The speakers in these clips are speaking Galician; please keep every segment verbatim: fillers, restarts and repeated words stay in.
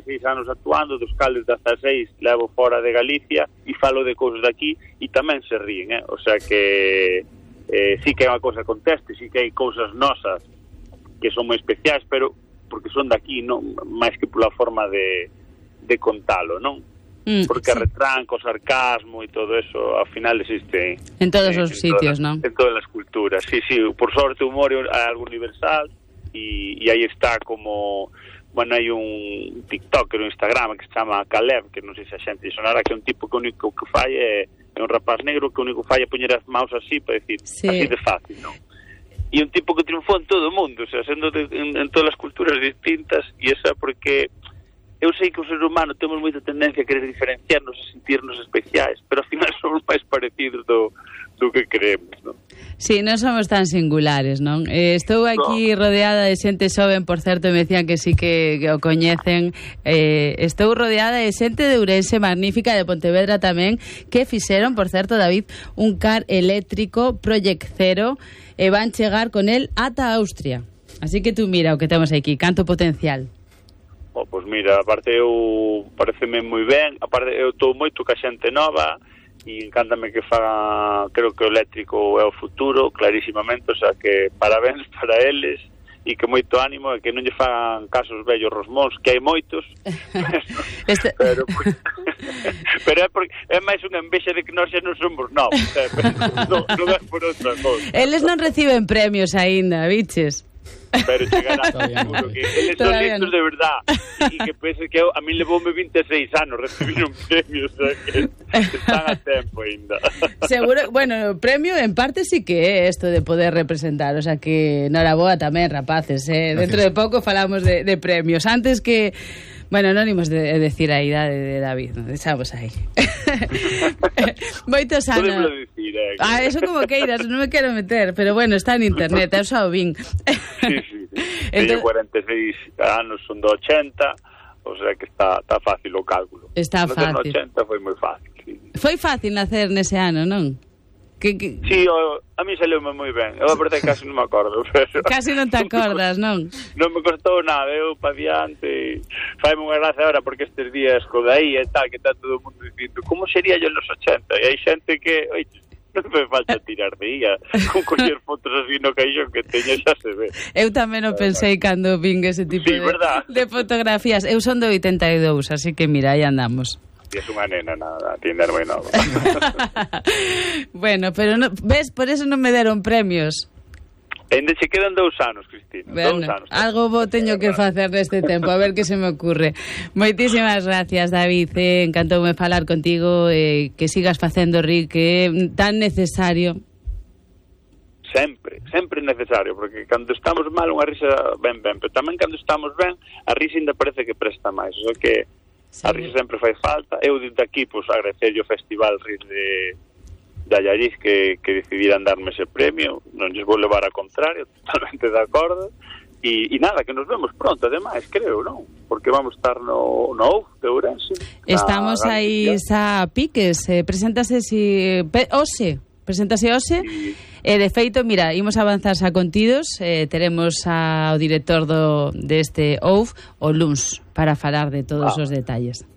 seis anos actuando, dos cales dezaseis levo fora de Galicia e falo de cousas daqui e tamén se ríen, eh? O sea que eh, sí que é unha cousa conteste, sí que hai cousas nosas que son moi especiais, pero porque son daqui, non máis que pola forma de, de contalo, non? Mm, porque sí. A retranca, o sarcasmo e todo eso, ao final existe en todos os sitios, non? En todas as culturas, sí, sí, por sorte o humor é algo universal e, e aí está como... Bueno, hai un TikToker, un Instagram que se chama Caleb, que non sei se a xente sonará, que é un tipo que o único que fai é, é un rapaz negro que o único que fai é poñer as maus así para decir, sí. Así de fácil, non? E un tipo que triunfou en todo o mundo, o sea, sendo de, en, en todas as culturas distintas, e esa porque eu sei que o ser humano temos moita tendencia a querer diferenciarnos, a sentirnos especiais, pero ao final somos máis parecidos do, do que creemos, non? Sí, non somos tan singulares, non? Eh, estou aquí no. rodeada de xente xoven, por certo, me decían que sí que, que o coñecen. Eh, estou rodeada de xente de Ourense, magnífica, de Pontevedra tamén, que fixeron, por certo, David, un car eléctrico Project Zero e van chegar con el ata Austria. Así que tú mira o que temos aquí, canto potencial. Oh, pois mira, aparte eu pareceme moi ben, aparte eu estou moito ca xente nova e encántame que faga, creo que o eléctrico é o futuro, clarísimamente, o sea que parabéns para eles e que moito ánimo e que non lle fagan casos vellos rosmóns, que hai moitos, pero, este... pero, pero é, porque, é máis unha envexa de que nós xa non somos novos, eh, non, non é por outra cosa. Eles non reciben premios aínda, biches? Pero chegará seguro que eles son listos de verdad e que pense que eu, a mí levoume vinte e seis anos recibir un premio, o sea que están a tempo ainda. Seguro, bueno, premio en parte sí que é isto de poder representar, o sea que noraboa tamén, rapaces, eh? Dentro de pouco falamos de, de premios, antes que bueno, non imos de, de decir a idade de David, non? Deixamos aí. Moitos anos. Podemos decir, eh, que... Ah, eso como queiras, non me quero meter, pero bueno, está en internet, eu xa o vin. Sí, sí, sí. Entonces... Teño cuarenta e seis anos, son do ochenta, o sea que está, está fácil o cálculo. Está fácil. No ochenta foi moi fácil, sí. Foi fácil nacer nese ano, non? Que, que... Sí, o, a mí saleume moi ben. Eu a verdade casi non me acordo, pero... Casi non te acordas, non? Non me costou nada, eu pa diante. Faime unha gracia agora porque estes días co daí e tal, que está todo o mundo dicindo como sería yo nos ochenta? E hai xente que, oye, non me falta tirar de ía, con coller fotos así no caixón que teña xa se ve. Eu tamén o pensei cando vin ese tipo sí, de, de fotografías. Eu son do oitenta e dous, así que mira, aí andamos. E é unha nena, nada, tinder moi nova. Bueno, pero no, ves, por eso non me deron premios. Ainda se quedan dous anos, Cristina. Bueno, dous anos. Algo bo teño que facer neste tempo, a ver que se me ocurre. Moitísimas gracias, David. Eh, encantoume falar contigo, eh, que sigas facendo rir, que é tan necesario. Sempre, sempre necesario, porque cando estamos mal unha risa ben ben, pero tamén cando estamos ben, a risa ainda parece que presta máis, o sea que sí. A risa sempre fai falta. Eu desde aquí, pois, pues, agradecerlle o Festival Rir de, de Allariz que, que decidiran darme ese premio. Non lles vou levar a contrario, totalmente de acordo. E, e nada, que nos vemos pronto, ademais, creo, non? Porque vamos estar no, no O U de Ourense. Estamos aí xa piques, eh, preséntase si... Pe, Ose, preséntase Ose. Sí. E, de feito, mira, imos avanzar xa contidos, eh, teremos ao director do, deste O U F, o Luns, para falar de todos ah. os detalles.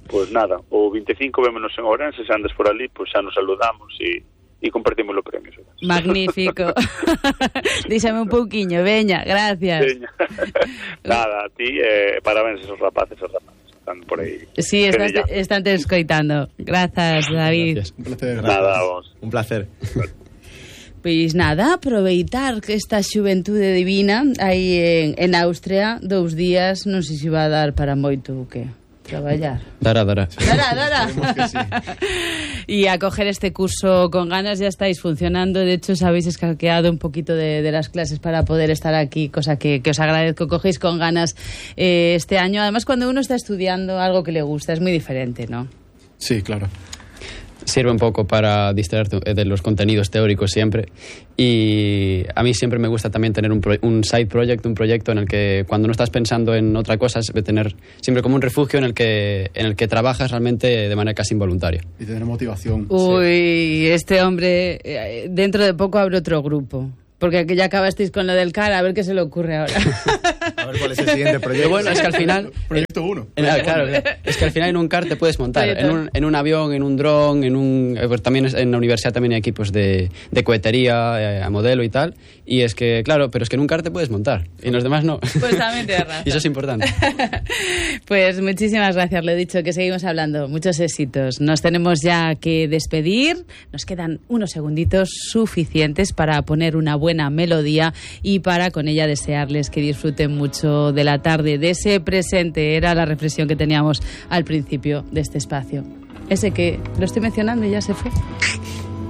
Pois pues nada, o vinte e cinco vémonos en Ourense, se andes por ali, pois pues xa nos saludamos e, e compartimos os premios. Magnífico. Díxame un pouquiño, veña, gracias. Veña. Nada, a ti, eh, parabéns esos rapaces, esos rapaces. Están por aí. Sí, estás, están te escoitando. Grazas, David. Gracias. Un placer. Nada, vos. Un placer. Pois nada, aproveitar que esta xuventude divina aí en, en Austria, dous días, non sei se va a dar para moito o que traballar. Dará, dará. Dará, dará. Sí. Y a coger este curso con ganas, ya estáis funcionando. De hecho, os habéis escaqueado un poquito de, de las clases para poder estar aquí, cosa que, que os agradezco. Cogéis con ganas eh, este año. Además, cuando uno está estudiando algo que le gusta, es muy diferente, ¿no? Sí, claro. Sirve un poco para distraerte de los contenidos teóricos siempre, y a mí siempre me gusta también tener un, pro, un side project, un proyecto en el que cuando no estás pensando en otra cosa, es tener siempre como un refugio en el que en el que trabajas realmente de manera casi involuntaria. Y tener motivación. Uy, sí. Este hombre dentro de poco abre otro grupo. Porque ya acabasteis con lo del cara, a ver qué se le ocurre ahora. A ver cuál es el siguiente proyecto. Pero bueno, es que al final... Proyecto uno. En, claro, claro, es que al final en un kart te puedes montar, en un, en un avión, en un dron, en un... Pues también en la universidad también hay equipos de, de cohetería, eh, a modelo y tal, y es que, claro, pero es que en un kart te puedes montar, y en los demás no. Pues también tienes razón. Y eso es importante. Pues muchísimas gracias, lo he dicho, que seguimos hablando. Muchos éxitos. Nos tenemos ya que despedir. Nos quedan unos segunditos suficientes para poner una buena melodía y para con ella desearles que disfruten mucho de la tarde, de ese presente. Era la reflexión que teníamos al principio de este espacio. Ese que lo estoy mencionando y ya se fue.